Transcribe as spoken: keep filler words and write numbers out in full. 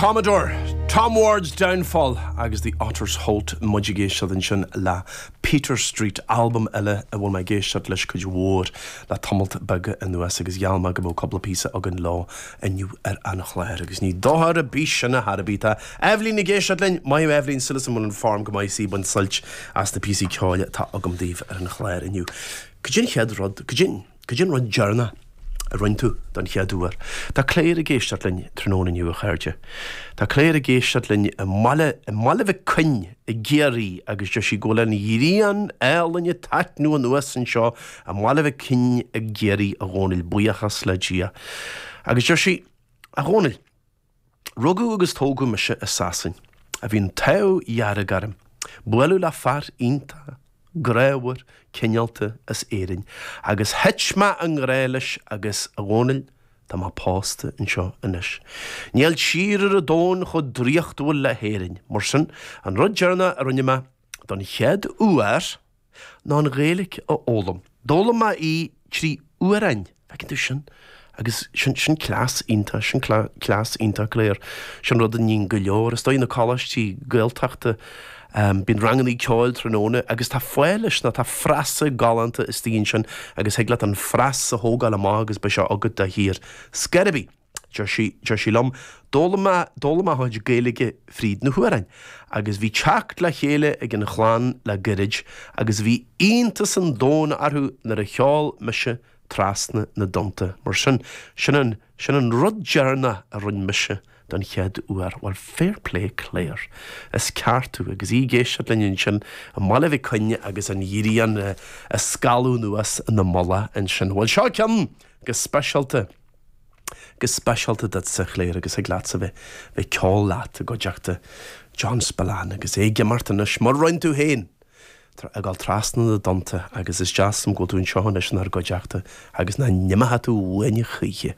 Commodore, Tom Ward's Downfall agus The Otters Holt muid ag éisteacht ansin le Peter Street albam eile a bhfuil mé ag éisteacht leis cuid mhór le tamalt beag anuas agus gheall mé go mbeadh cúpla píosa againn leo inniu ar an chlár agus ní dochar ar bith sin a thairbhí. Tá Eibhlín ag éisteacht linn, maith thú Eibhlín súil agam go bhfuil an form go maith sí ag baint sult as na píosaí ceoil atá agam daoibh ar an chlár inniu. Cad é an chéad rud, cad é cad é an rud deireanach a rinne tú don chéad uair. Tá Claire ag éisteacht linn tráthnóna inniu a chairde. Tá Claire ag éisteacht linn i mBaile i mBaile Mhic Coinn i gCiarraí agus deir sí go bhfuil an ghrian álainn ag taitneamh anuas anseo i mBaile Mhic Coinn i gCiarraí a Dhónaill buíochas le Dia. Agus deir sí a Dhónaill, Rugadh agus tógadh mise i Sasain, a bhí an t-ádh dearg orm, bualadh le fear iontach, grámhar, cineálta as Éirinn, agus thit mé i ngrá leis agus a Dhónaill, tá mé pósta anseo anois. Níl tír ar an domhan chomh draíochtúil le hÉirinn, mar sin, an rud deireanach a rinne mé don chéad uair ná an Ghaeilge a fhoghlaim. D'fhoghlaim mé í trí amhráin, feiceann tú sin? Agus sin sin cleas iontach, sin cleas iontach Claire. Sin rud a níonn go leor. Is dóigh na coláistí Gaeltachta bíonn ranganna ceoil tráthnóna agus tá fáth leis nó tá frása galánta istigh ansin agus thig leat an frása a thógáil amach agus beidh sé agat de shíor. Scor ar bith, deir sí, deir sí liom, d'fhoghlaim mé, d'fhoghlaim mé mo chuid Gaeilge fríd na hamhráin agus bhí teacht le chéile ag an chlann le gairid agus bhí iontas an domhain orthu nuair a cheol mise trasna na dtonnta. Mar sin, sin an, sin an rud deireanach a rinne mise don chéad uair. Well, fair play Claire. Is ceart tú agus í ag éisteacht linn ansin i mBaile Mhic Coinn agus an ghrian ag scalladh anuas ina mullach ansin. Well seo ceann go speisialta go speisialta duitse Claire agus thig leatsa bheith bheith ceol leat i gcuideachta John Spillane agus é ag imeacht anois mar rinne tú féin ag dul trasna na dtonnta agus is deas liom go bhfuil tú anseo anois inár gcuideachta agus nach n-imeoidh tú uainn choíche.